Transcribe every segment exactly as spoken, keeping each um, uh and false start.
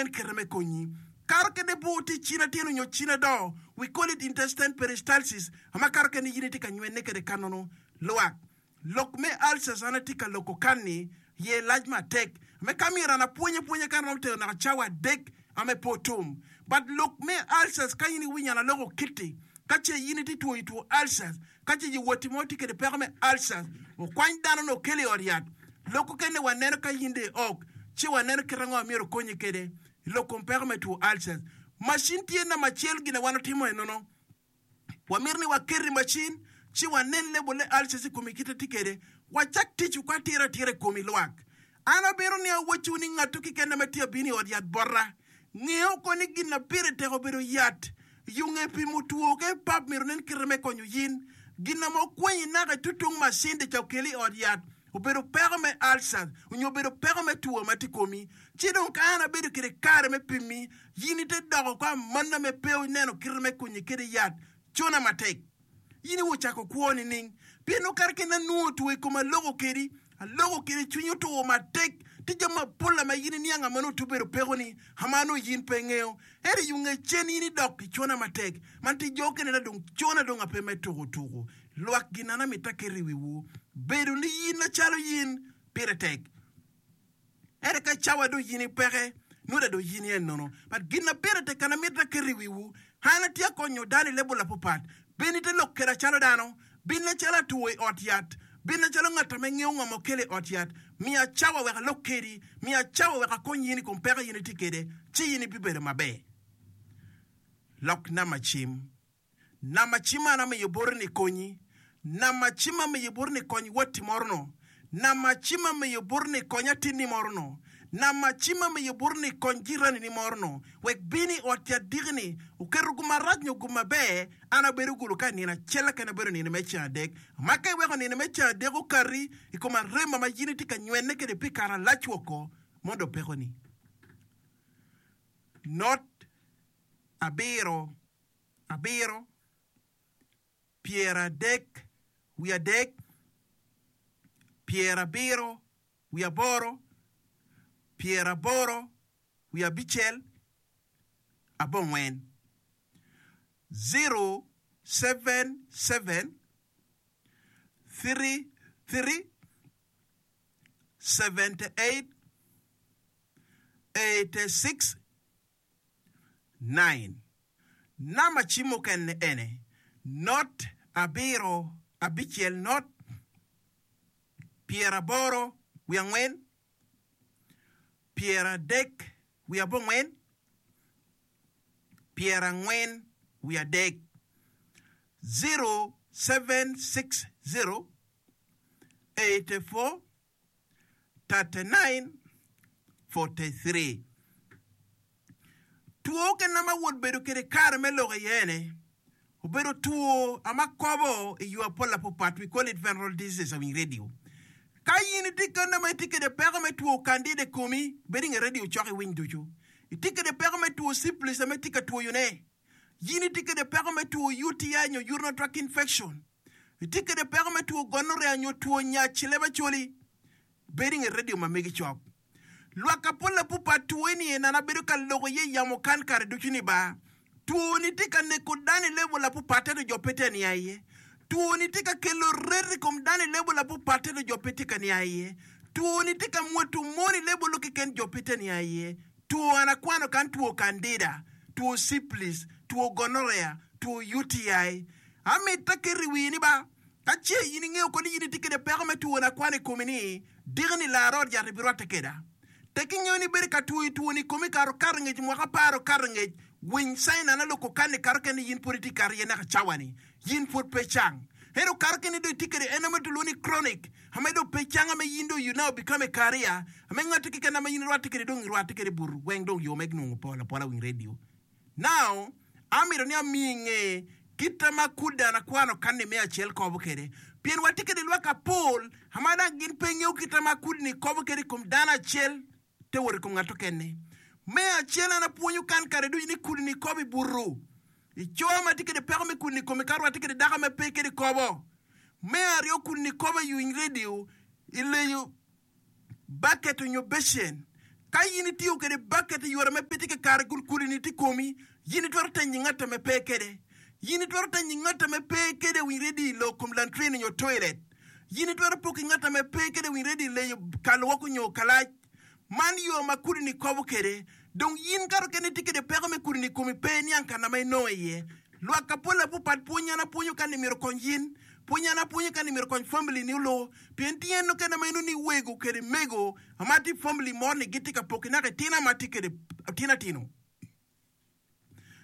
onen kite me konyi. Kato kede bur tye i cin atin onyo cin adoo, we call it intestine peristalsis, ama kato kene in itye ka nywene kede kanono lwak. Lok me ulcers an atye ka loko kan-ni ye lac matek me ka myero an apwony apwonya kan romo tero naka cawa adek ame pe otum. But lok me ulcers ka in iwinyo an aloko kiti ka ce in itye twoyo two ulcers ka ce watti mo tye kede peko me ulcers okwany dano ni okel i ot yat. Lok okene waneno ka in dong iok ci waneno kit ango myero okonyi kede i lok kom peko me two ulcers. Macin tye namba acel gin a wan otimo enono. Wamito ni waket i macin ci wanen lebol ulcers i komi kite tye kede. Wacak tic woko atira atira i komi lwak. An abino ni awacciwu ni ngatto keken ma tye abino i ot yat bota. Ngeyo ko ni gin na pire tek obedo yat. Yunge pimo two ke pap myero nen kite me konyo yin. Gin na ma okwenyi naka itutung macin ca okeli i ot yat obedo peko me ulcers onyo obedo peko me two ma tye i komi. Ci dong ka an abedo kede kare me pimi, yin ite doko ko amanna me pe oneno kite me konyi kede yat cona matek. Yin iwo cako kwo nining? Pien okato kene anwongo two i koma aloko kedi, aloko kedi cwiny otur matek. Tye jami mapol ma yin iniang ama nongo tye obedo pekoni, ama nongo yin pe ingeyo. Ento i nge cen yin idok i cona matek. Man tye jo okene na dong cona dong ape me tuko tuko. Lwak gin an amito aketo i wiwu. Bedo ni yin macalo yin pire tek. Ento ka cawa dong yin ipeke, nongo dong yin iye nono. But gin na pire tek kana mito aketo i wiwu, an atye akonyo dano i level apapat. Bin ite lok keda calo dano, bin acalo atwo i ot yat, bin acalo ngat ame ngeyo ngo ma okelo i ot yat. Miya cawa wek alok kedi, miya cawa wek akony yin i kom peko yin itye kede, ci yin ibibedo maber. Lok namba cim. Namba cim man amiyo boti ni konyi. Namba cim amiyo boti ni kony watti moro no. Namba cim amiyo boti ni kony atinni moro no. Namba cim amiyo boti ni kony jiranini moro no. Wek bin i ot yat diki ni oketo gum marac nyo gum maber, an abedo gulu ka i nino acel keken abedo nino me ceng adek. Ma ka iweko nino me ceng adek okati i kom arema ma in itye ka nywene kwede pi kare alac woko mondo opekoni. Not abiro abiro, pyeradek wiye adek, pyerabiro wiye aboro, pyeraboro wiye abicel, abongwen. Zero, seven, seven, three, three, seventy eight, eighty six, nine. Namba cim mukene ene, not abiro abicel not pyeraboro wiye angwen pyeradek wiye abongwen pyerangwen wiye adek zero seven six zero eighty four thirty nine forty three. Two kene ma wod bedo kede kare me lok iye ene obedo two ama kobo i yo apol apapat, we call it venereal diseases awiny radio. Ka in itye kene ma itye kede peko me two candida i komi, bed inge radio cok iwiny ducu. Itye kede peko me two syphilis ame itye ka twoyone. Yin itye kede peko me two U T I nyo urinary tract infection. Itye kede peko me two gonorrhea nyo two nyac leb acholi. Bed inge radio ma megi cok. Lwak apol apupa two ni en an abedo ka loko iye yamo kan kare ducu ni ba. Two ni tye ka neko dano i level apupat ento jo pe tye ania iye. Two ni tye ka kelo ret i kom dano i level apupat ento jo pe tye ka nia iye. Two ni tye ka mwoto mon i level keken jo pe tye ania iye. Two an akwano kan two candida, two syphilis, two gonorrhea, two U T I. Amito aketo i wii ni ba, ka ce in ingeyo koni in itye kede peko me two akwano i komi ni, diki ni lar ot yat ibirwatte keda. Tek ingeyo ni ibedo ka twoyo two ni komi kare okato ngec mwaka apar okato ngec, winy sign an aloko kan ni kato kene in pwod itye kato iye naka cawa ni, yin pwod pe cang. Ento kato kene dong itye kede en ame tulwongo ni chronic, ame dong pe cang ame yin dong you now become a carrier, ame ngati keken ame yin irwatte kede dong irwatte kede butu weng dong yo me nongo pol apola winy radio. Now, amito ni amiyi inge kita ma kudde an akwano kanni me acel kobo kede. Pien watye kede lwak apol ama dang gin pe ngeyo kita ma kudni kobo kede i kom dano acel te wot i kom ngat okene. Me acel an apwonyo kan kare ducu ni kudni kobo i butu. I co ma tye kede peko me kudni i kome ka rwatte kede dako ma pe kede kobo. Me aryo kudni kobo i ywiny radio i leyo baket onyo becen. Ka in itiyo kwede baket i yore me pe tye kakare kun kudi-ni tye i komi, in itwero tenyo ngat ame pe kwede. In itwero tenyo ngat ame pe kwede winy ready i lok kom lantrin nyo toilet. In itwero poko i ngat ame pe kwede winy ready i leyo kalwoko nyo kalac. Man yo ma kudi-ni kobo kwede. Dong in kato kene itye kwede peko me kudi-ni i komi pe iniang kana ma inongo iye. Lwak kapol apupat pwony an apwonyo ka ni myero okony in, pwony an apwonyo ka ni myero okony family ni olo, pien tye en okene ma eno ni wego kede mego ama tye family mor ni gitye ka poki naka itina ma tye kede tina tino.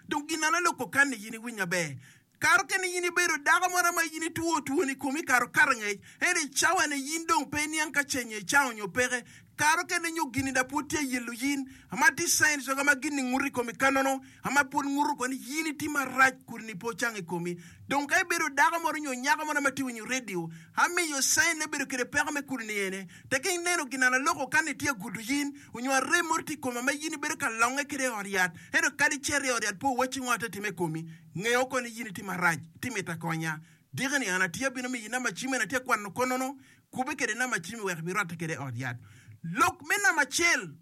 Dong gin an aloko kan ni yin iwiny maber. Kare okene yin ibedo dako moro ma yin itwo twoni komi kare okato ngec, ento i cawa ni yin dong pe iniang ka ceng icango nyo peke. Kare okene nyo gini da pwod tye yelo yin, ama tye signs wek ama gini nguto i komi kanono, ama pwod nguto ko ni yin itye marac kudni pe ocango i komi. Dong ka ibedo dako moro nyo nyako moro ma tye winyo radio, amiyo sign me bedo kede peko me kudni ene, teke ineno gin an aloko kan ni tye agudo yin, onyo arem moro tye i koma ma yin ibedo ka longe kede i ot yat, ento kadi icito i ot yat pe owacci ngo ate time i komi, nge oko ni yin itye marac, ti mito akonya. Diki ni an atye abino miyi namba cim eni atye akwano konono, Kubbe kwede namba cim wek ibirwatte kwede i ot yat. Lok me namba acel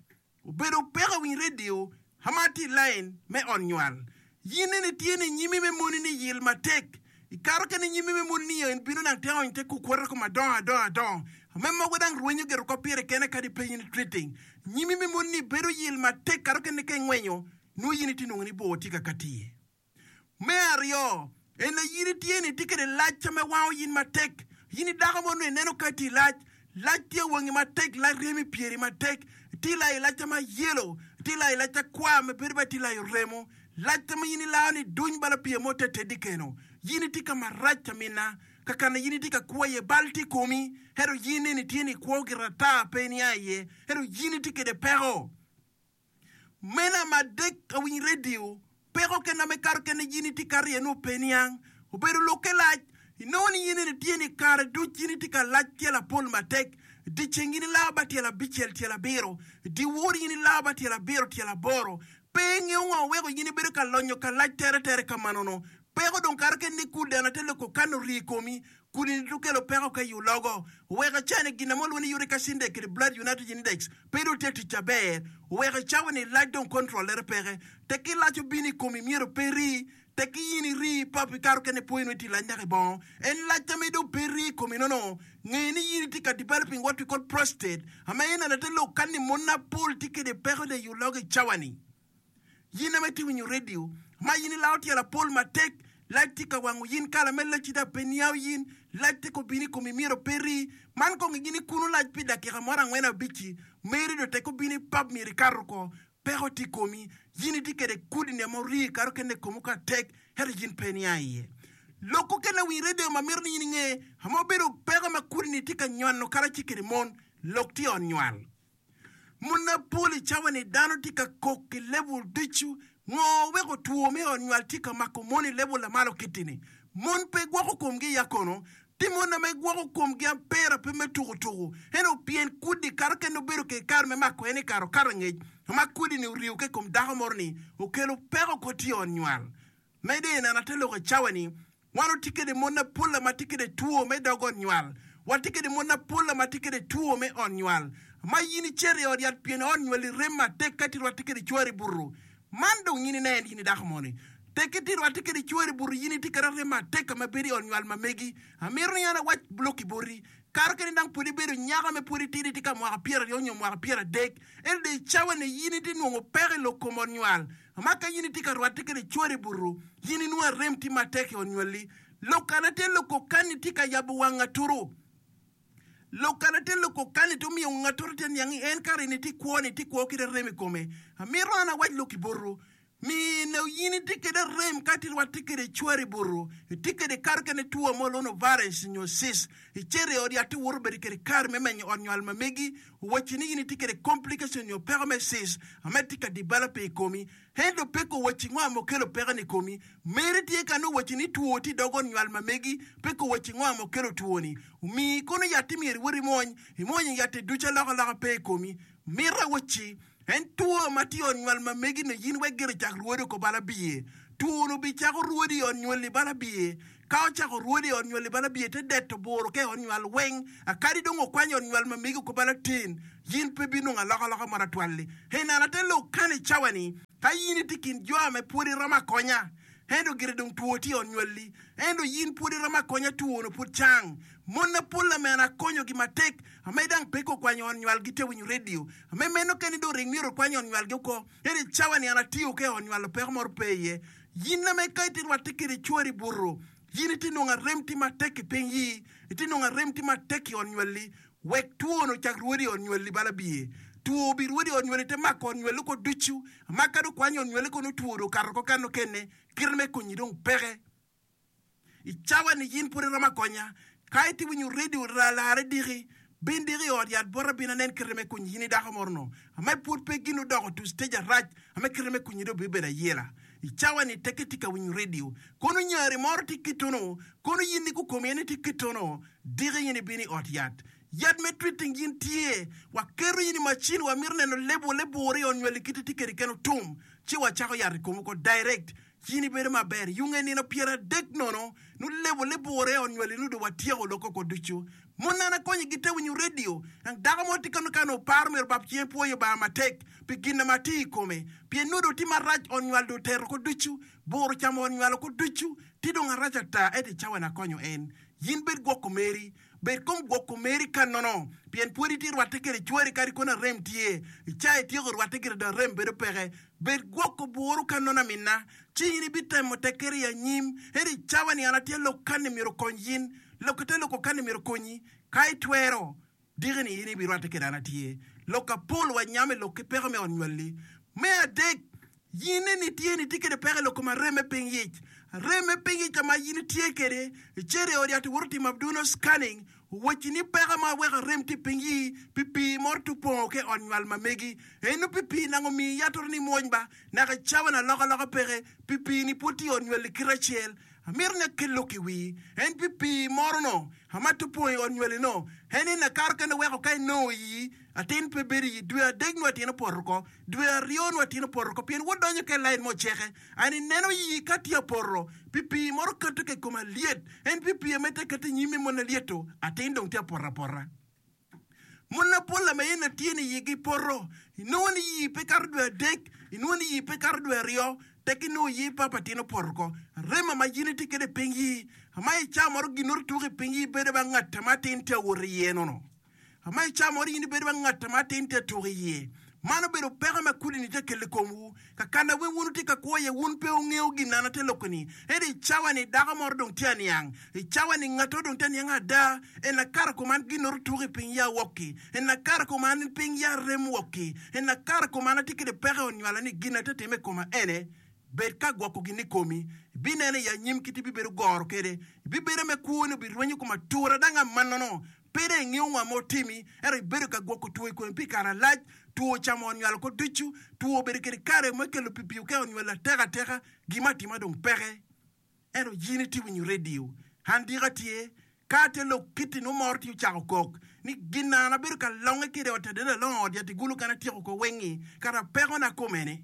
obedo peko winy redio ma tye i lain me ot nywal. Yin nene tye ni nyimi me moni ni yil matek. Ikato kene nyimi me moni ni en bino nang teko te kukwota ko madongo adongo adongo me mogo dang rwenyo gire oko pire kene kadi pe in treating. Nyimi me moni ni bedo yil matek kato kene ka ingwenyo nongo yin itye nongo ni bor tye ka kati iye. Me aryo, en aye in itye ni itye kwede lac me wango in matek. In i dako mo nongo ineno ka itye i lac, lac tye wangi matek, lac ryemo i pyeri matek, itye layo lac ma yelo, itye layo lac kwar ma bedo bene itye layo remo, lac ma in ilao ni duny bala pye mo te tedi keno. In itye ka marac amina, kakana in itye ka kwo iye bal tye i komi, ento in eni itye ni ikwo gire ata pe inia iye, ento in itye kwede peko. Meno ma adek awiny redio, peko kena me kato kene in itye kato iye nongo pe niang. Obedo lokke lac, inongo ni in eni tye ni kare duc in itye ka lac tyelo apol matek. Dyeceng in ilao ba tyelo abicel tyelo abiro, dyewor in ilao ba tyelo abiro tyelo aboro. Pe ingeyo ngo weko in ibedo ka lonyo ka lac tere tere kamano-nu. Peko dong kato kene ni kudana te loko kan orii i komi, Kudi-ni dong kelo peko ka i ologo. Oweko icani gin ma walwongo ni uric acid index kede blood nitrogen index pe dong tye tic aber. Oweko icawa-ni lac dong control-lere peke. Tekki lac obino i komi myero pe rii. Tekki in irii pap ikato kene pwoyi nongo itye lac naka i bongo. En lac ame dong pe rii i komi nono. Nge ni in itye ka developing what we call prostate ama en ate lok kan ni mon mapol tye kede peko de i ologo i cawa-ni. Yin ame itye winyo redio ma yin ilao tyelo apol matek, lac tye ka wango yin kala me lacci dok pe niao yin, lac tye ka obino i komi myero pe rii. Man kong igi ni kunu lac pi dakika moro angwen abic-ci, meri dong tek obino i pub myero ikato oko, peko tye i komi, yin itye kede kudini ame orii ikato kene i komi ka tek ento yin pe inia iye. Lok okene winy redio ma mito ni yin inge ame obedo peko ma kudini tye ka nywano karaci kede mon, lok tye i ot nywal. Mon mapol i cawa-ni dano tye ka kok i level ducu. Ngo weko two me ot nywal tye ka mako mon i level lamalo kiti-ni? Mon pe gwoko komgi ya kono? Tye mon ma gwoko komgi apera pe me tuku tuku. Ento pien kudi kato kene obedo ki kare me mako en i kare okato angec ma kudi-ni oriyo ki i kom dako moro-ni okelo peko kor tye i ot nywal. Medo i neno ate lok i cawa-ni, wan watye kede mon mapol ma tye kede two me dog ot nywal. Watye kede mon mapol ma tye kede two me ot nywal. Ma in icito i ot yat pien ot nywali rem matek ka itye rwatte kede cwari buto. Man dong in inen in i dako moni. Tek itye rwatte kede cwari buto in itye kede rem matek ka ma bedo i ot nywal ma megi. Amito ni an awac lok-ki boti. Kato kede dang pwod ibedo nyako me pwod itidi itye ka mwaka pyeraryo nyo mwaka pyeradek. Ento dong i cawa-ni in itye nongo peko i lok kom ot nywal. Ma ka in itye ka rwatte kwede cwari i buto, in inwongo arem tye matek i ot nywalli. Lok kana te loko kani tye ka yabo wang ngatoro. Lok kana te loko kani tye omiyo ngatoro tye niang ni en kare ni tye kwo ni tye kwo kede arem i kome. Amito an awac lok i buto. Mine in itye kede arem ka itye rwatte kwede cwari i buto, itye kwede kato kene two mo lwongo virus nyo cyst, icito i ot yat iwoto bedo kwede kare me menyo ot nywal ma megi, owacci ni in itye kwede complication nyo peko me cyst ma tye ka develop i komi, ento pe kowacci ngo ma okelo peko ni i komi. Meri tye ka nongo owacci ni two tye i dog ot nywal ma megi, pe kowacci ngo ma okelo two ni. Omiyi kono yat-ti myero iwot imwony, imwonyo yat-ti ducu alokaloka pe i komi. Mito awacci En two ma tye i ot nywal ma megi-ni in wek gire cak rwodi oko bal abiye. Two-nu bicako rwodi i ot nywali bal abiye. Ka ocako rwodi i ot nywal i bal abiye te deto buro ka i ot nywal weng, akadi dong okwanyo ot nywal ma megi oko bal atin, yin pe ibinongo alokaloka mo atwal-li. En an ate lok kan i cawa-ni, ka yin itye i kin jo ame pwod iromo akonya, ento gire dong two tye i ot nywalli, ento yin pwod iromo akonya two-nu pud cang. Mon mapol ame an akonyogi matek, ame dang pe gukwanyo ot nywalgi te winyo redio, ame meno kene dong ring myero okwany ot nywalgi oko, ento i cawa-ni an atiyo ka i ot nywal peko moro pe iye. Yin ame ka itye rwatte kede cwari buto, yin itye nongo arem tye matek i piny yi, itye nongo arem tye matek i ot nywalli, wek two-nu ocak rwodi i ot nywalli bal abiye. Two obirwodi i ot nywalli te mako ot nywalli oko ducu, ma ka dong okwanyo ot nywalli kono two dong okato oko kanokene, kite me konyi dong peke. I cawa-ni in pud iromo akonya. Ka itye winyo redio larre diki, bin diki i ot yat bota bin anen kite me konyi in i dako moro-nu. Ame pud pe gin odoko to stage arac ame kite me konyi dong bibedo ayela. I cawa-ni tekke itye ka winyo redio, kono nyari moro tye kitunu, kono in ni kukomi en tye kitunu, diki in ibino i ot yat. Yat me treating in tye. Waketo in i macin, wamito neno lebo lebur i ot nywali kite tye kede keno tum, ci wacako yat i komi oko direct. In ibedo maber. Yunge nino pyeradek nono, nulebo libure onywali nudo watyeko lok oko ducu. Mon an akonyo gi te winyo radio. Nang dako mo tye kano kano oparo myero bab cinge pwoyo Obanga matek pi gin ma tye i kome. Pien nudo tye marac onywal do otero oko ducu. Bur ocamo onywal oko ducu. Tye dong arac ata ento i cawa ni akonyo en. Yin bed gwoko meri. Bed kom gwoko meri ka nono, pien pwod itye rwatte kede cwari kadi kono arem tye. I ca ityeko rwatte gire dong arem bedo peke. Bed gwoko buru ka nono aminna, ci in ibitemo tekkere i anyim. Ento i cawa-ni an atye lok kanni myero okony in, lok ite loko kanni myero okonyi. Ka itwero, diki-ni in ibirwatte kede an atye. Lok apol wanyamo i lok ki peko me ot nywalli. Me adek, In eni itye ni itye kede peko i lok kom arem me piny yic. Arem me piny yic ka ma in itye kede, icito i ot yat iwoto timo abdominal scanning, owacci ni peko ma weko arem tye i piny yii pi pii moro tye opongo ki i ot nywal ma megi. Eno pi pii nang omiyi yatoro ni imwony ba, naka i cawa ni alokaloka peke, pi pii ni pwod tye i ot nywal i kite acel. Amito ni akel lok i wii. En pi pii moro no ama tye opongo i ot nywali no, en en akato kene weko ka inongo iyi atin pe bedo iyi dwe adek nyo atin opoto oko, dwe aryo nyo atin opoto oko pien wod donyo ka i lain mo oceke. An ineno iyi ka tye apoto pi pii moro kato ka i kome alyet, en pi pii ame te keto i nyime mon alyeto, atin dong tye apoto apota. Mon mapol ame en atye ni iyigi poto, inongo ni iyi pe kato dwe adek, inongo ni iyi pe kato dwe aryo, tek inongo iyi papa atin opoto oko. Arem ma in itye kwede i piny iyi, ama i cawa moro ginoro tuko i piny iyi bedo ba ngat ma atin tye awot iye nono. Ama i cawa moro in ibedo ba ngat ma atin tye atuko iye. Man obedo peko ma kudi-ni tye ka kelo i komwu. Kakana weng wun wutye ka kwo iye, wun pe wungeyo gin an atye loko-ni. Ento i cawa-ni dako moro dong tye aniang. I cawa-ni ngatto dong tye aniang ada. En akato kom an ginnoro tuko i piny ya wok-ki. En akato kom an piny ya rem wok-ki. En akato kom an atye kede peko i onywala ni gin atye time i koma ene. Bed ka gwoko gin i komi. Ibineno i anyim kit ibibedo goro kede. Ibibedo me kwoni obirwenyo kom atura dang amannono. Pe dong ingeyo ngo ma otimi, ento ibedo ka gwoko two i komi pi kare alac. Two ocamo onywalo oko ducu. Two obedo kede kare me kelo pi pii ka onywalo atek ateka. Gin ma atima dong peke. Ento yin itye winyo redio. An dika tye, ka atye lok kiti nongo moro tye ocako kok ni gin an abedo ka longe kede ot adada alongo ot yat igulu kany atyeko oko wengi kara pekona komene.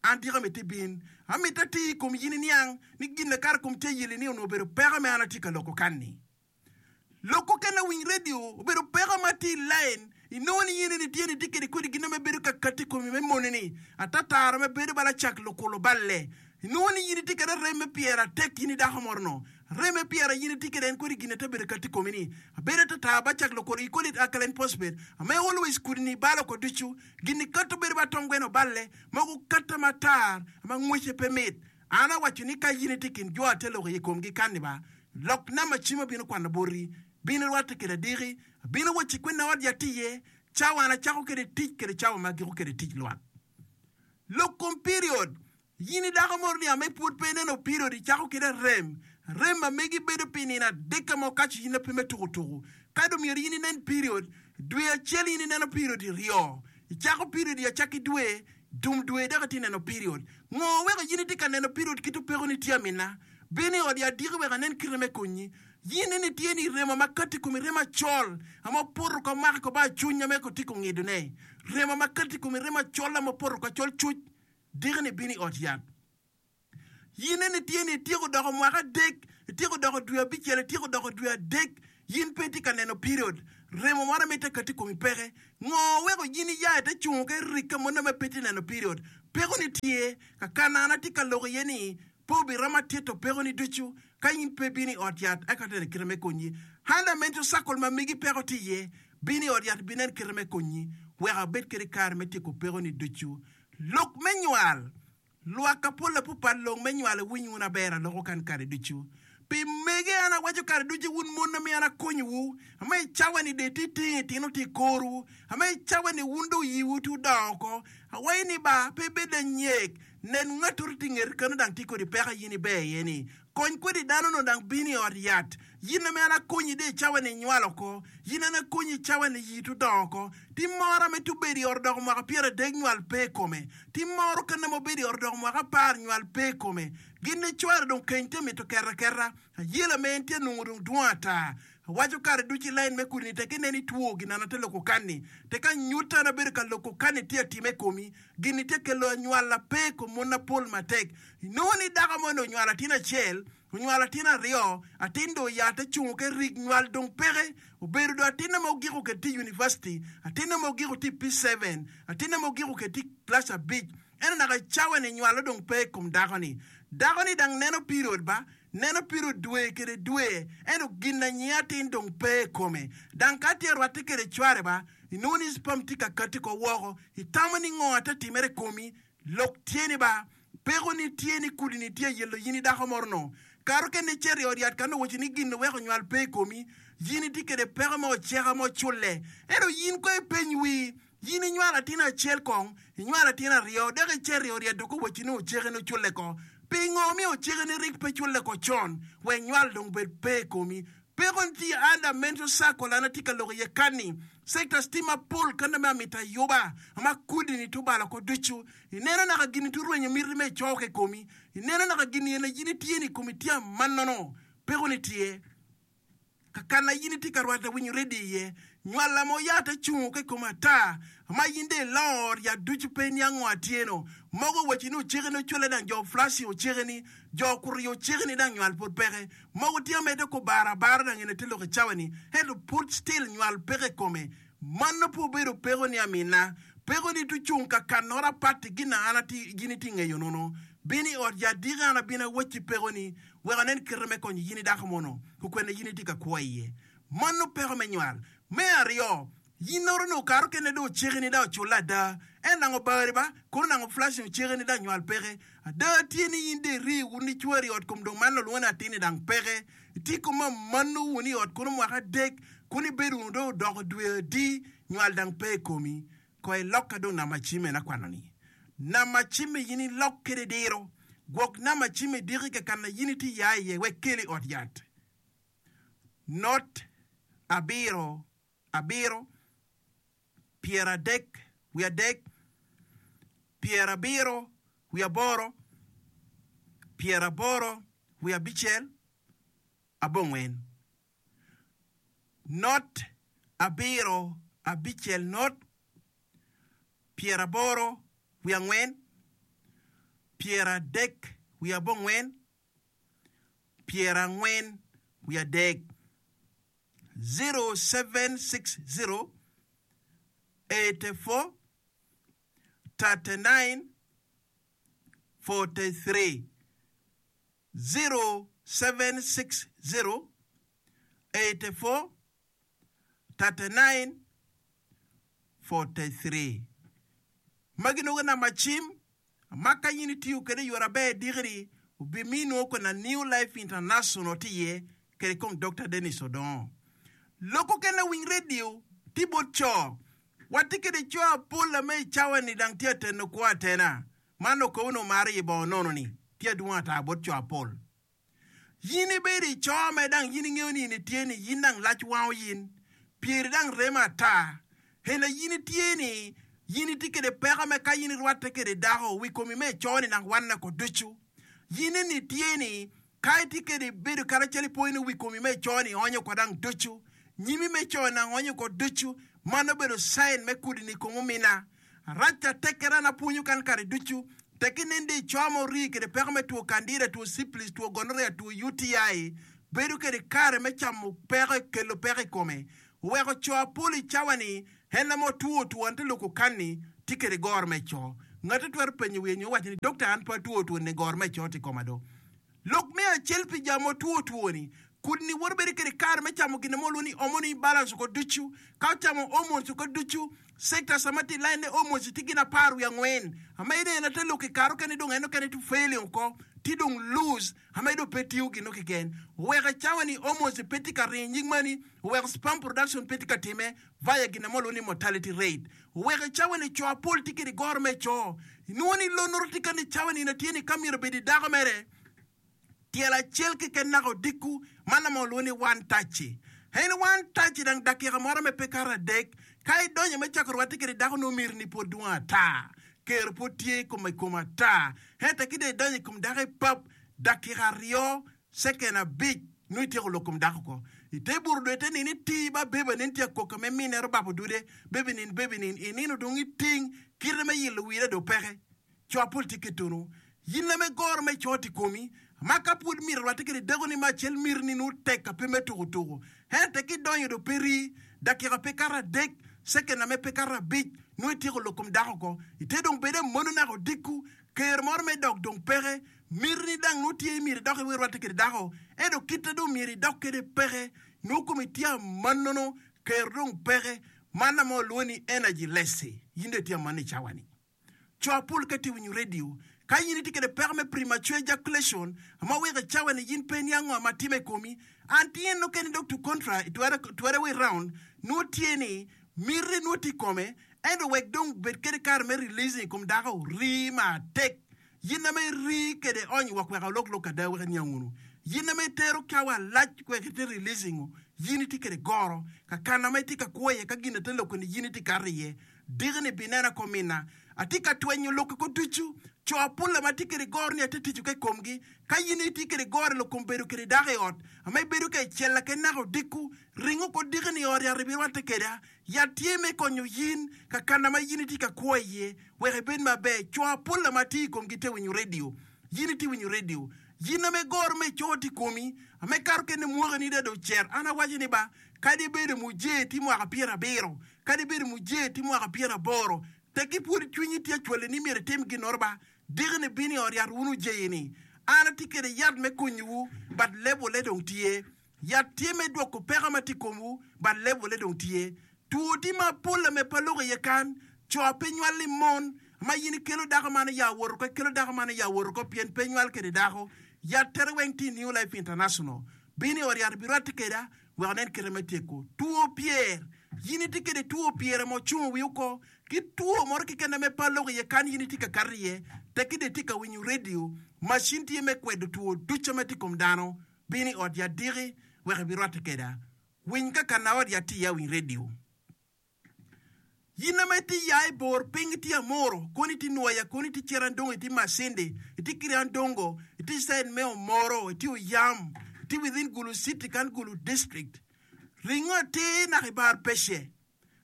An tika amito ibin? Amito ati i kom yin iniang ni gin na kara kom tye ayeli ni onongo obedo peko me an atye ka loko kan-ni. Loko kene winy redio obedo peko ma tye i lain. Inongo ni in eni tye ni itye kede kodi gin me bedo ka kati i komi me moni-ni atatara me bedo bala cak lukulo balle. Inongo ni in itye kede arem me pyera tek in i dako moro-no. Arem me pyera in itye kede en kodi gin ate bedo kati i komi ni abedo atata ba cak lukulo i call it alkaline phosphate ame always kudi-ni balo oko ducu. Gin-ni kato bedo ba tongweno balle mogo kata matar ma ngwece pe mit. An awaco ni ka in itye i kin jo ate lok i komgi kanni ba, lok namba cim abino kwano boti, bin irwatte kede adiki, abino wacci kwena ot yat iye, cawa an acako kede tic kede cawa ma agiko kede tic lwak. Lok kom period, In i dako moro ni ame pwod pe ineno period icako kede arem, arem ma megi bedo pi nino adek ka ma okaco in ape me tuku tuku. Ka dong myero in inen period, dwe acel in ineno period iryo, icako period i acakki dwe, dum dwe dok itye neno period. Ngo weko in itye ka neno period kit opeko ni tye amina? Bin i ot i adiki wek anen kite me konyi. In eni tye ni remo ma kati i komi remo acol ama opoto ka omaki ko ba acuny ame ko tye ko ngido ne. Remo ma kati i komi remo acol ama opoto ka col cuc diki ni bin i ot yat. In eni tye ni ityeko doko mwaka adek Ityeko doko dwe abicel, ityeko doko dwe adek, yin pe itye ka neno period. Remo moro ma ite kati i komi peke. Ngo weko yin iya ite cungo ka irikke mo nongo pe itye neno period? Peko-ni tye ka kana an atye ka lok iye ni pe obiromo atito peko-ni ducu ka in pe ibino i ot yat eka ateno kite me konyi. Under mental circle ma megi peko tye iye, bino i ot yat ibinen kite me konyi wek abed kede kare me tyeko peko-ni ducu. Lok me nywal. Lwak apol apupat long me nywalo iwiny wun aber aloko kan kare ducu. Pi mege an awaco kare ducu wun mon amiyo an akonyowu, ama i cawa ni dong itye tingo itino tye i korwu, ama i cawa ni wun dong yiwu tye odongo oko. Awaco ni ba, pe ibed anyek, nen ngatoro tye i ngeti kano dang tye kodi peko in iber iye ni. Kony kwede dano-nu dang bino i ot yat. Yin ame an akonyi dong i cawa ni inywalo oko, yin an akonyi i cawa ni yii to dongo oko. Tim moro ame to bedo i ot odoko mwaka pyeradek nywal pe i kome. Tim moro kene ma obedo i ot odoko mwaka apar nywal pe i kome. Gin ni cware dong keny tye mito keto aketa. Ayela me en tye nongo dong dwong ata. Awaco kare ducu i lain me kudi ni tek inen itwo ginana te loko kanni. Tek anyutta an abedo ka loko kanni tye atime i komi. Gin-ni tye kelo anywala pe i kom mon mapol matek. Inongo ni dako mo ni onywalo atin acel, onywalo atin aryo, atin dong oya te cungo ke rik nywal dong peke. Obedo dong atinne ma ogiko kede tye i university, atinne ma ogiko tye i P seven, atinne ma ogiko kede tye i class abic. Ento naka i cawa ni nywalo dong pe i kom dako ni. Dako ni dang neno period ba, neno period dwe kede dwe, ento gin anyia atin dong pe i kome. Dang ka tye arwatte kede cware ba, inongo ni sperm tye ka kati ko woko. Itamo ni ngo ate timere i komi? Lok tye ni ba, peko ni tye ni kudi ni tye yelo yin i dako moro no. Kare okene icito i ot yat ka nongo waci ni gin weko nywal pe i komi, yin itye kede peko mo oceka mo culle. Ento yin ko ipeny wii, yin inywalo atin acel kong, inywalo atin aryo, dok icito i ot yat dok owaci ni oceke ni oculle ko. Pingo omiyo oceke ni rik pe culle ko con, wek nywal dong bed pe i komi? Peko tye under mental circle an atye ka lok iye kani. Sectors tye mapol kanda me amito ayuba ma kudi ni tubalo oko ducu. Ineno naka gini tu rwenyo miti me icoke i komi. Ineno naka gini ene in itye ni komi tye amanono. Peko ni tye kakana in itye ka rwate winyo ready iye. Nywala mo yat acungo ka i kom ata ma in dong ilor yat ducu pe iniang ngo atyeno. Mogo owaci ni oceke ni ocwale dang jo flashing oceke ni jo kuriyo oceke ni dang nywal pud peke. Mogo tye amedde ko baro abara dang ene te lok i cawa ni ento pud still nywal peke i kome. Mano pe obedo peko ni amina. Peko ni tucung ka kanoro apat gin na an ati gin iti ngeyo nono. Bin i ot yat diki an abino awacci peko ni wek anen kite me konyo yin i dako mono kukwene yin iti ka kwo iye. Mano peko me nywal. Me aryo, yin oro ni okato kene dong oceki ni dong oculle ada. En nang obari ba, kono nang oflashing oceki ni dong nywal peke. Ada tye ni yin dong iri wun ni cwari i ot kom dong man olwongo ni atin ni dang peke. Itye kom amano wun i ot kono mwaka adek, kono ibedo wunu dong odoko dwe adi, nywal dang pe i komi. Ko ilokka dong nama cim en akwano ni. Nama cim i yin ilok kede diro. Gwok nama cim i diki kakana yin itye ya iye wek keli i ot yat. Not abiro abiro, pyeradek wiye adek, pyerabiro wiye aboro, pyeraboro wiye abicel, abongwen. Not abiro abicel not, pyeraboro wiye angwen, pyeradek wiye abongwen, pyerangwen wiye adek, zero seven six zero eighty four thirty nine forty three, zero seven six zero eighty four thirty nine forty three. Magi nongo namba cim ma ka in itiyo kwede i yore aber diki-ni, obimini kwena New Life International tye iye kede kong Dokta Dennis Odongo. Lok okene winy radio tye bot co. Watye kede co apol ame i cawa ni dang tye ateno kwo atena. Man okobo ni omaro iye bongo nono ni tye adwong ata bot co apol. Yin ibedo i co me dang yin ingeyo ni in itye ni yin dang lac wango yin, pyeri dang remo ata. Hena yin itye ni yin itye kede peko me ka yin irwatte kede dako wi komi me ico ni dang wanne ko ducu. Yin eni itye ni ka itye kede bedo karacel ipoyo ni wi komi me ico ni onyo ko dang ducu. Nyimi me ico ni dang onyo ko ducu. Man obedo sign me kudi ni kom omina. Arac atekkere an apwonyo kan kare ducu. Tekki nen di co ma orii kede peko me two candida, two syphilis, two gonorrhea, two U T I, bedo kede kare me camo peko, kelo peko i kome. Oweko co apol i cawa-ni, en ame otwo two an te loko kan-ni, tye kede goro me co. Ngate twero penyo wiye nyo waco ni, "Dokta, an pe atwo two-ni, goro me co tye i koma do." Lok me acel pi jo ma otwo two-ni, kudni woto bedo kede kare me camo gin mo lwongo ni hormone imbalance oko ducu. Ka ocamo hormones oko ducu, sectors ma tye i line ne hormones tye gin apar wiye angwen. Ama ineno te lok i kare okene dong en okene tye failing oko, tye dong loose, ama dong pe tiyo gin keken. Oweko i cawa ni hormones pe tye ka ringo i nyig mani, oweko sperm production pe tye ka time via gin mo lwongo ni mortality rate. Oweko i cawa ni co apol tye kede goro me co. Inwongo ni lonoro tye ka ni cawa ni tye ni ka myero obed i dako mere, tyelo acel keken naka odiko, man ame olwongo ni one touch. En one touch dang dakika moro me pe kato adek, ka idonyo me cako rwatte kede dako nongo myero ni pwod dwong ata. Kero pwod tye i kome i kom ata. Ento ki dong idonyo i kom dako i pap, dakika aryo, second abic, nongo ityeko lok kom dako ko. Ite buto dong ite nini ti ba beba nen tye akoka me mine rubabo dude, bebi nin bebi nin, inino dong iting, kite me yilo wire dong peke. Co apol tye ketunu. Yin ame goro me co tye i komi, ma ka pwod myero rwatte kede dako ni ma acel miti ni nongo tek ka pe me tuko tuko. Ento ki idonyo dong pe rii, dakika pe kato adek, second ame pe kato abic, nongo ityeko lok kom dako ko. Ite dong bed amono naka odiko, ker moro me dok dong peke, miti ni dang nongo tye myero idok iwe rwatte kede dako, ento kite dong myero idok kede peke, nongo komi tye amannono, ker dong peke, man ame olwongo ni energy less, yin dong itye amanno i cawa ni. Co apol ka tye winyo radio, ka yin itye kede peko me premature ejaculation, ama weko i cawa ni yin pe niang ngo ma time i komi, an tye nokene dok to contra, twere way round, nongo tye ni miti nongo tye i kome, ento wek dong bed kede kare me releasing i kom dako, rii matek. Yin ame rii kede ony wak wek alok lok ada wek iniang unu. Yin ame itero cawa lac wek ite releasing, yin itye kede goro, ka kana ma itye ka kwo iye ka gin ate loko ni yin itye kato iye. Diki-ni binena ko mina. Atye ka twenyo lok ko ducu. Co apol ma atye kede goro ni ate tico ke komgi. Ka yin itye kede goro i lok kom bedo kede dako i ot, ama ibedo ka icella ke naka odiko, ringo ko diki-ni i ot yat ibirwatte keda. Yat tye me konyo yin ka kana ma yin itye ka kwo iye wek ibed maber. Co apol ma atye i komgi te winyo radio. Yin itye winyo radio. Yin ame goro me co tye i komi, ame kato kene mwakani da dong cer. An awaco ni ba, kadi ibedo muje tye mwaka pyerabiro, kadi ibedo muje tye mwaka pyeraboro, tekki pwod cwinyi tye acwali ni myero itim ginoro ba, diki-ni bino i ot yat wun ojeyini. An atye kede yat me konyowu, but level-le dong tye. Yat tye me dwoko peko ma tye i komwu, but level-le dong tye. Two tye mapol ame pe aloko iye kan, co pe nywal i mon, ma yin ikelo dako man ya woto ko, ikelo dako man ya woto ko, pien pe nywal kede dako. Yat tere weng tye i New Life International. Bino i ot yat ibirwatte keda, wek onen kite me tyeko. Two pyer, yin itye kede two pyer ma ocungo wi oko, ki two moro keken ame pe aloko iye kan yin itye ka kato iye, tekki dong itye ka winyo radio, macin tye me kwedo two ducu ma tye i kom dano. Bino i ot yat diki, wek ibirwatte keda. Winy ka kana ot yat tye iye awiny radio. Yin ame itye ya i bor piny itye amoro, koni itye nwoya, koni itye Cerandongo, itye Masindi, itye Kiriandongo, itye side me Omoro, itye Oyam, itye within Gulu City kan Gulu District. Ringo atir naka i bar pece.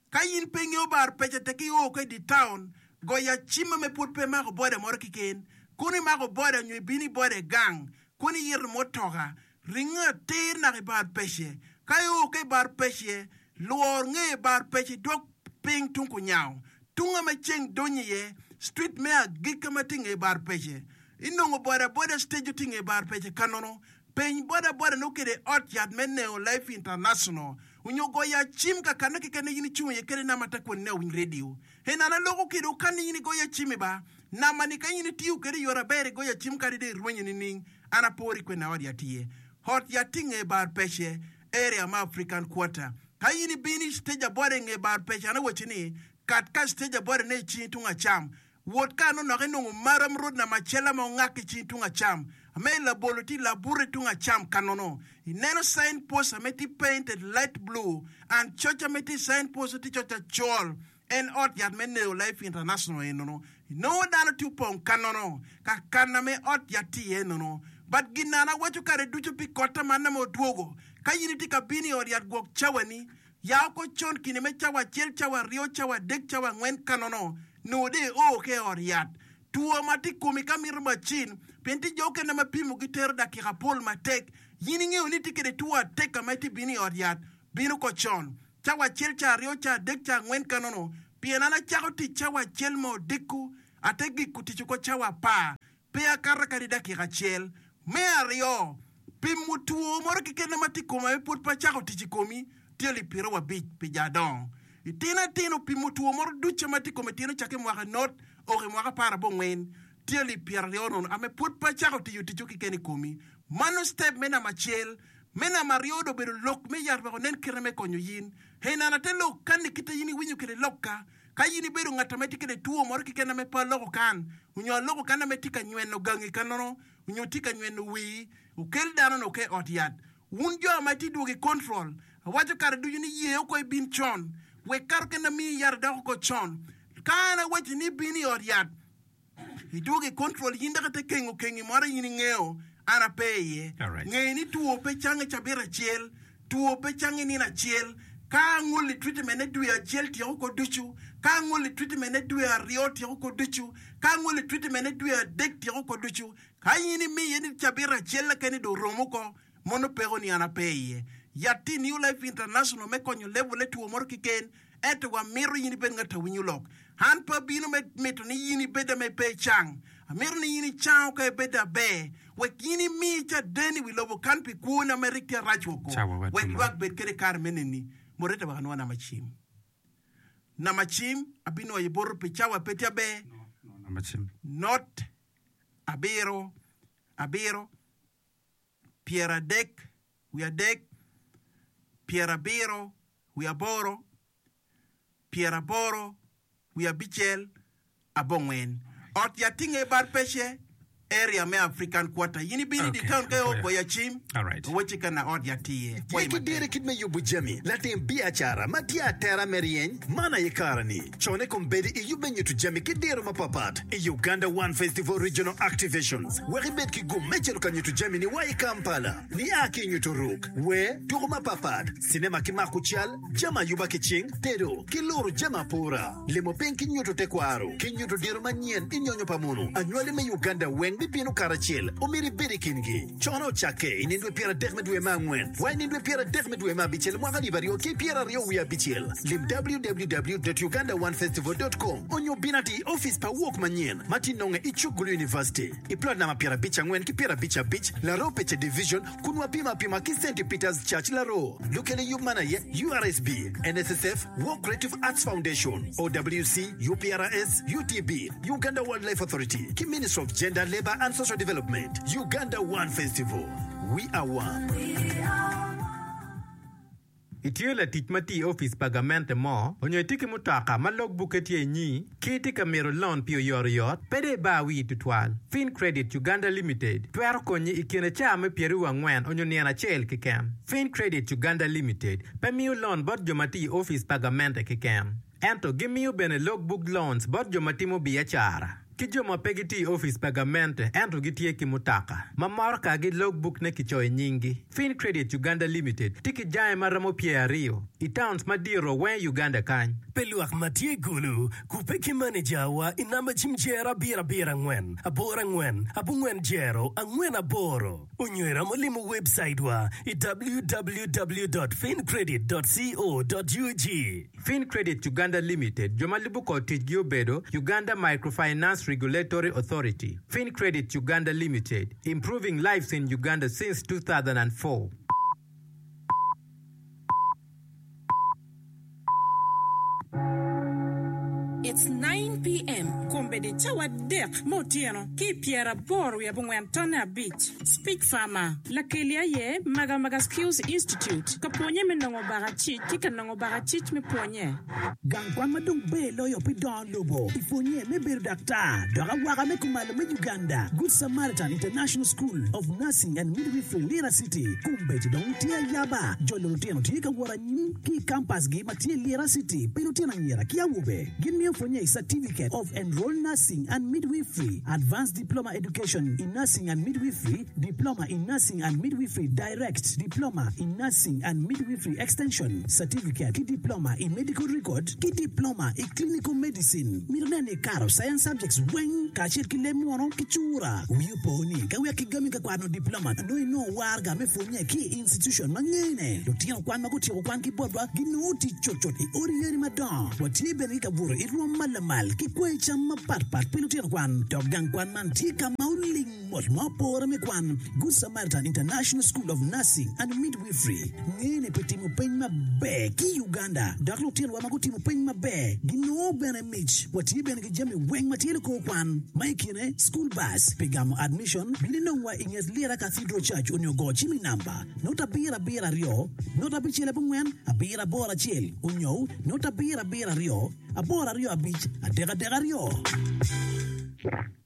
Ka yin pe ingeyo bar pece tek io ka i di town, goyo acima me pwod pe imako boda moro keken. Kono imako boda nyo ibino i boda i gang, kono iyito mutoka, ringo atir naka i bar pece. Ka io ka i bar pece, lwor nge bar pece dwok piny tung kunyango. Tunga ma ceng donyo iye, street me agikka ma tye nge bar pece. Inongo boda boda stage tye nge bar pece kanono. Peny boda boda nongo kede ot yat me Neo Life International. Onyo goyo acim ka kano keken yin icung iye kede nama ta kwon ne owiny radio. En an aloko kede okan yin igoyo acim i ba. Nama ni ka yin itiyo kede i yore aber igoyo acim kadi de irwenyo nining. An apori kwena ot yat iye. Ot yat tye nge bar pece, area ma African Quarter. Ka yin ibino i stage aboda i nge bar pece an awaci ni kat ka stage aboda ne i cingi tung acam. Wot ka anonok inongo maram road nama acel ma ongak i cingi tung acam. Ame labolo tye labute tung acam kanono. Ineno sign post ame tye painted light blue and coc ame tye sign post tye coc acol. En ot yat me Neo Life International enono. Inongo dano tye opong kanono ka kan ame ot yat tye iye enono. But gin an awaco kare ducu pi kota man ame odwogo. Ka yin itye ka bino i ot yat gwok cawani, ya oko con kine me cawa acel, cawa aryo, cawa adek, cawa angwen kanono, nongo dong io ki i ot yat. Two ma tye i komi ka mito macin, pien tye jo okene ma pimogi tero dakika apol matek. In ingeyo ni itye kwede two atek ma itye bino i ot yat, bino ko con, cawa acel, ca aryo, ca adek, ca angwen kanono. Pien an acako tic cawa acel ma odiko, ate giko tic oko cawa apar. Pe akato kadi dakika acel. Me aryo, pimo two moro keken ma tye i koma ma pwod pe acako tic i komi tye alip pyeraryo abic pi jo adongo. Itino atino, pimo two moro ducu ma tye i kome tyen ocakke i mwaka not oko i mwaka apar abongwen tye alip pyeraryo nono ame pwod pe acako tiyo ticco keken i komi. Mano step me namba acel. Me namba aryo dong obedo lok me yat wek onen kite me konyo yin. Hei nana te lok kanni kite in iwinyo kwede lokka. Ka in ibedo ngat ame tye kede two moro keken ame pe aloko kan, onyo aloko kan ame tye ka nyweno gangi kanono, onyo tye ka nyweno wii, okel dano no ke ot yat. Wun jo ama itye dwogo i control, awaco kare ducu ni ye oko ibin con, wek kato kene amiyi yat idok oko con. Ka an awaci ni ibin i ot yat, Idwogo i control in dok ite kengo kengi moro in ingeo an ape iye. Nge ni two pe cang i cabit acel, two pe cang i nino acel. Ka angoli treatment ne dwe acel tyeko ko ducu, ka angoli treatment ne dwe aryo tyeko ko ducu, ka angoli treatment ne dwe adek tyeko ko ducu. Ka in imiye ni cabit acel keken dong oromo ko, mono peko ni an ape iye. Yat tye i New Life International me konyo level ne two moro keken. Ento wamito in ibed ngat a winyo lok. An pe abino me mito ni in ibed ame pe icang. Amito ni in icango ka ibed aber, wek in imi caden i wi lobo kan pi kwoni ame rik tye arac woko, wek lwak bed kede kare me neni. Moderator wek anwo namba cim. Namba cim abinwoyo boti pi cawa pe tye aber. Not abiro abiro pyeradek wiye adek pyerabiro wiye aboro, pyeraboro wiye abicel, abongwen. Ot yat tye nge bar pece, area me African Quarter. In ibino i dye town ka i goyo acim, owacci ka na ot yat tye iye. Ye Pwoyi ki dire matek. kit me yubo jami. Latim biacara ma tye atera me ryeny, man aye kare-ni. Cone kombeddi i yub me nyuto jami ki diro mapapat i Uganda One Festival Regional Activations wek ibed ki gum me cito ka nyuto jami ni wa i Kampala, nia ki i nyuto ruk, wer, tuko mapapat, cinema ki mako cal, jami ayuba ki cing, tedo, ki luro jami apura, limo piny ki nyuto tekwaro, ki nyuto diro manyen i nyonyo pa munu. Anywali me Uganda weng bibino karacel, omyero ibed i kingi. Cone ocakke i nindwe pyeradek me dwe me angwen wa i nindwe pyeradek me dwe me abicel mwaka alip aryo ki pyeraryo wiye abicel. Lim www dot uganda one festival dot com onyo bin atir i opic pa Wok manyen ma tye nonge i cuk Gulu University i plot namba pyerabic angwen ki pyerabic abic Laroo Pece Division kun wapimo apima ki Centi Peters Church Laroo. Lukelo i yub man aye U R S B, N S S F, Wok Creative Arts Foundation, O W C, U P R S, U T B, Uganda Wildlife Authority ki Ministry of Gender, Labour and Social Development. Uganda One Festival, We are one. Itye latic ma tye i opic pa gamente mo, onyo itye ki mutoka ma log bukke tye inyi, ki itye ka mito lon pi oyotoyot, pe dong ibar wii tutwal. Fincredit Uganda Limited twero konyi i kine caa me pyeraryo angwen onyo nino acel keken. Fincredit Uganda Limited pe miyo lon bot jo ma tye i opic pa gamente keken, ento gimiyo bene log book loans bot jo ma timo biacara ki jo ma pe gitye i opic pa gamente ento gitye ki mutoka ma motokagi log book ne kicoyo i nyinggi. Fincredit Uganda Limited tye ki jange ma romo pyer aryo i towns madito weng i Uganda kany. Pi lwak ma tye i Gulu, kubbe ki manejawa i namba cim jero abiro abiro angwen aboro angwen abongwen jero angwen aboro onyo iromo limo webcaitwa i W W W dot fincredit dot co dot U G. Fincredit Uganda Limited jo ma lubo kor ticgi obedo Uganda Microfinance Regulatory Authority. Fincredit Uganda Limited, improving lives in Uganda since two thousand and four. It's nine P M kombeddi cawa adek me otyeno ki i pyeraboro wiye abongwen tonne abic. Speech Farmer, Lakeli aye Magamaga Skills Institute ka pwonye me nongo bakacic ki ka nongo bakacic me pwonye. Gang kwan ma dong ber loyo pi dongo lobo i pwonye me bedo daktar dok awaka me kumalo me Uganda, Good Samaritan International School of Nursing and Midwifery Lira City, kombeddi dong tye ayaba. Jolo lutino tye ka wot anyim ki i kampasgi ma tye i Lira City pi lutino anyira ki awobe. Gin miyo pwonye i Certificate of Enrolled Nursing and Midwifery, Advanced Diploma Education in Nursing and Midwifery, Diploma in Nursing and Midwifery Direct, Diploma in Nursing and Midwifery Extension, Certificate ki Diploma i Medical Record ki Diploma i Clinical Medicine. Mito nen ni ikato Science Subjects weng kacel ki leb muno ki cura. Wi opo ni ka wek kigami ka kwano diploma nongo inongo waraga me pwonye ki i institution ma ngene. Lutino kwan ma gutyeko kwan ki botwa ginongo tic cutcut i odi yadi madongo. Watye bene ki kabuto i rwom ma lamal ki kwayi cam mapatpat pi lutino kwan. Dok gang kwan man tye ka ma oling mot ma opore me kwan. Good Samaritan International School of Nursing and Midwifery ngene pi timo peny maber ki i Uganda dok lutinowa ma gutimo peny maber ginongo bene mic. Watye bene ki jami weng ma tye likor kwan ma i kine school bus pi gamo admission. Bin inongwa i nget Lira Cathedral Church onyo go cim i namba not abiro abiro aryo not abicel abongwen abiro aboro acel onyo not abiro abiro aryo aboro aryo abic adek adek aryo.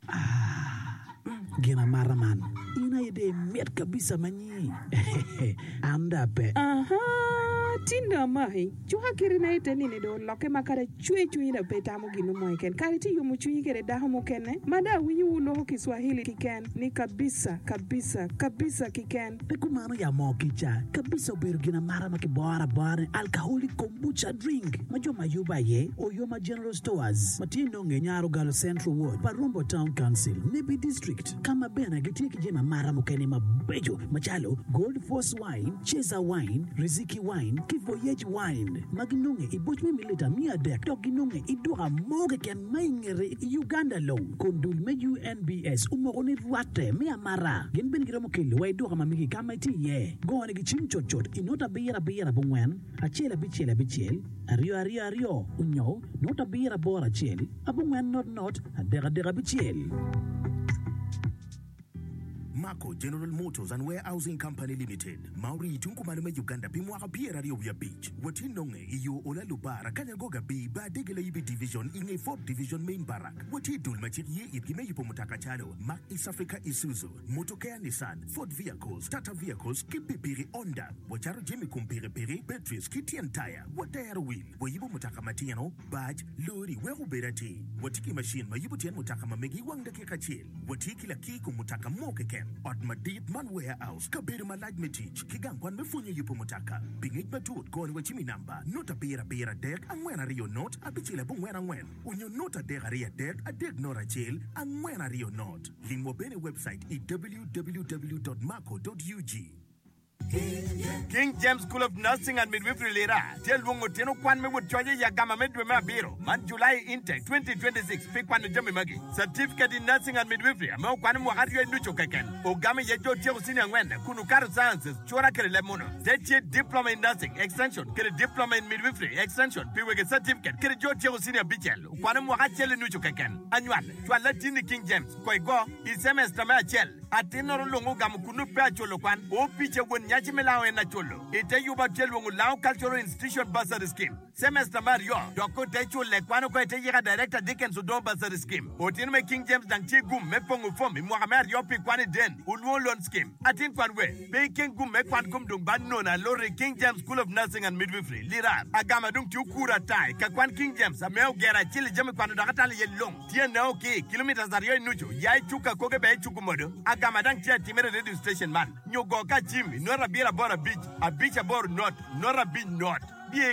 Ah, gin amata man, in aye dong imit kabisa ma nyi. An dong ape. Aha, tin dong amaki. Cuka kitina i te nini dong olokke ma kadi acwe cwinyi dong pe itamo gin mo keken. Kadi itye yomo cwinyi kede dako mukene ma dong awinyo wu loko Kiswahili kiken ni kabisa, kabisa, kabisa kiken. Pe kumano ya moo kica kabisa obedo gin amata ma kiboro abora ni alcoholic kombucha drink ma jo ma yubo aye Oyoma General Stores ma tye nonge i Nyarogalo Central Ward pa Rombo Town Council, Nebbi District ka ma bene gitye ki jami amata mukene mabeco macalo Gold Force Wine, Chaser Wine, Riziki Wine ki Voyage Wine ma ginonge i boc me mililita miya adek dok ginonge i duka mo keken ma i ngete i Uganda long kun dul me U N B S omoko ni rwatte me amata. Gin bene giromo kelo wa i duka ma megi ka ma itye iye. Gone gi cim cutcut i not abiro abiro abongwen acel abicel abicel aryo aryo aryo onyo not abiro aboro acel abongwen not not adek adek abicel. Mako General Motors and Warehousing Company Limited ma orii tung kumalo me Uganda pi mwaka pyeraryo wiye abic. Watye nonge i yo Ola Lubara Kanyagoga B bar Dege Layibi Division i nge Fourth Division Main Barrack. Watye i dul ma cik ye itgi me yubo mutoka calo Mack East Africa Isuzu, Motokea Nissan, Ford Vehicles, Tata Vehicles ki pikipiki Honda. Wacato jami kom pikipiki, batteries ki tyen taya. Watero wil. Wayubo mutoka matino, bac, lori wek obed atir. Watye ki macin ma yubo tyen mutoka ma megi i wang dakika acel. Watye ki lakir kom mutoka mo keken. Ot madit man warehouse, kabedo malac me tic, ki gang kwan me pwonyo yubo mutoka. Pi ngec matut, goni wa cim i namba not abiro abiro adek angwen aryo not abicel abongwen angwen onyo not adek aryo adek adek not acel angwen aryo not. Limwa bene i website i W W W dot maco dot U G. King James School of Nursing and Midwifery Lira tye lwongo tino kwan me wot coc i agama me dwe me abiro man July Intake twenty twenty-six pi kwano jami magi: Certificate in Nursing and Midwifery ame okwano mwaka aryo i nucu keken ogamo iye jo otyeko senior angwen kun okato sciences cura kede leb muno te tye Diploma in Nursing Extension kede Diploma in Midwifery Extension pi wege certificate kede jo otyeko senior abicel okwano mwaka acel i nucu keken. Anywal cwal latinni King James ko igo i semester me acel atin-noro lungo ogamo kunu pe aculo kwan opice won nyaci me lango en aculo ite yuba tye lwongo Lango Cultural Institution Bursary Scheme semester me aryo dok ote cule kwan oko ite yika Director Dickens Odongo Bursary Scheme. Otino me King James dang tye gum me pongo fom i mwaka me aryo pi kwan i den olwongo Loan Scheme. Atin kwan we pe ikeng gum me kwan kom dong ba nono alori King James School of Nursing and Midwifery Lira agama dong tye okuro atai ka kwan King James ame ogero acel i jami kwano dok atalo iye long tye neo ki kilometers aryo i nucu ya i cuk akoge be i cuku modo agama dang tye atimere radio station man nyo go ka cim i not abiro aboro abic abic aboro not not abic not biye.